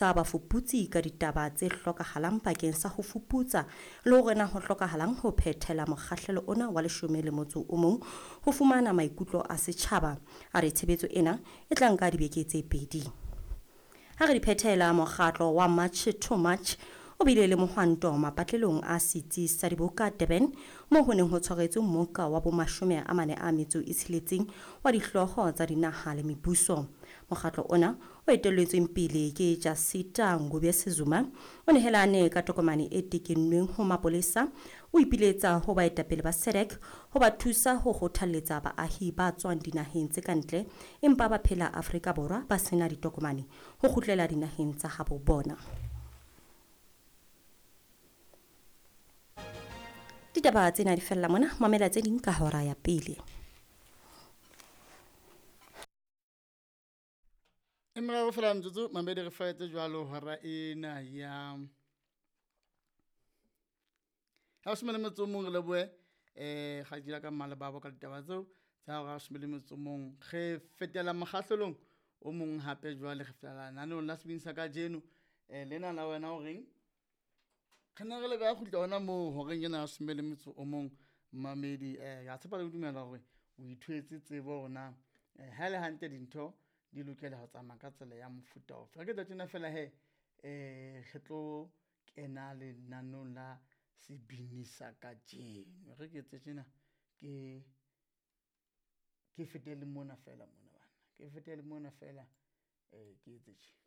Sa bafuputsi ka ditaba tse hlokahalang bakeng sa ho fuputsa le hore na ho hlokahalang ho phethela mokgahlelo ona wa 11 ho fumana maikutlo a setjhaba. A re tshebetso ena e tla nka dibeke tse pedi. Ha re di phethela, mokgatlo wa March to March o bile le mohwanto mapatlelong a setsi sa diboka Durban, moo ho neng ho tshwaretswe mmoka wa bo 46 wa dihlooho tsa dinaha le mebuso. Mokgatlo ona o etelletsweng pele ke Jacinta Ngobese-Zuma o nehelane ka tokomane e tekennweng ho mapolesa, o ipiletsa ho baetapele ba SADC ho ba thusa ho kgothalletsa baahi ba tswang dinaheng tse ka ntle empa ba phela Afrika Borwa ba sena ditokomane ho kgutlela dinaheng tsa habo bona. Ditaba tsena di fella mona, mamela tse ding ka hora ya pele. E meraro fela metsotso mamedi re faetse jwalo hora ena ya ha o le metso mong re lebohe um ga dira ka mmale babo ka ditaba tseo tsa hora some le metso mong. Re fetela mokgahlelong o mong hape jwale re fetela naneong la sebini sa kajeno um lena la wena o reng re ne re le ka kgutla hona moo horeng ena ya some le metso o mong mamedi. Um ka tshepa le ho dumela hore o ithwetse tsebo hore na ha e le hantle dintho di lokela ho tsamaya ka tsela ya mofuta ofe. Re ke tla tjena fela he re tlo kena lenaneong la sebini sa kajeno. Re ke etse tjena ke ke fetele mona fela mona bana, ke fetele mona fela ke etse tje.